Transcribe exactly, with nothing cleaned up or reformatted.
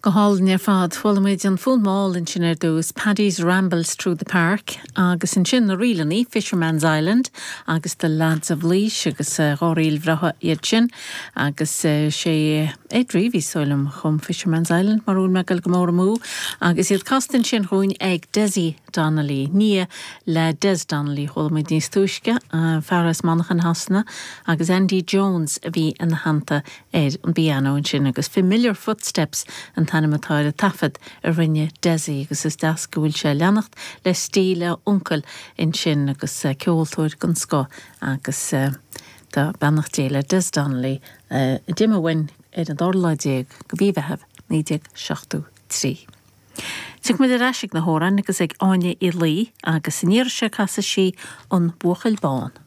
Go hálainn ar fad chuala muid an fonn mall ansin ar dtús Paddy's Rambles Through the Park agus ansin na ríleanna Fisherman's Island agus the Lads of Laois agus uh, dhá ríl bhreátha iad sin agus uh, sé Ed Reavy sólam chum Fisherman's Island mar bhfuil mé ag gabháil go mór amú agus iad casta ansin dúinn ag Desi Donnelly nia le Des Donnelly chuala muid níos túisce uh, fear as Manchain Shasana agus Andy Jones a bhí ina theannta ar an bpianó ansin agus Familiar Footsteps an t-ainm atá ar an taifead a rinne Desi agus is deas go bhfuil sé leanacht le stíl a uncail ansin agus uh, ceoltóir den scoth agus uh, tá beannacht Dé le Des Donnelly uh, d'imigh uainn ar an dara lá déag de mhí Mheithimh naoi déag seachtó trí. Tiocfaidh muid ar ais ag na hamhráin agus ag Áine Uí Laoi agus an iarraidh seo casfaidh sí an Buachaill Bán.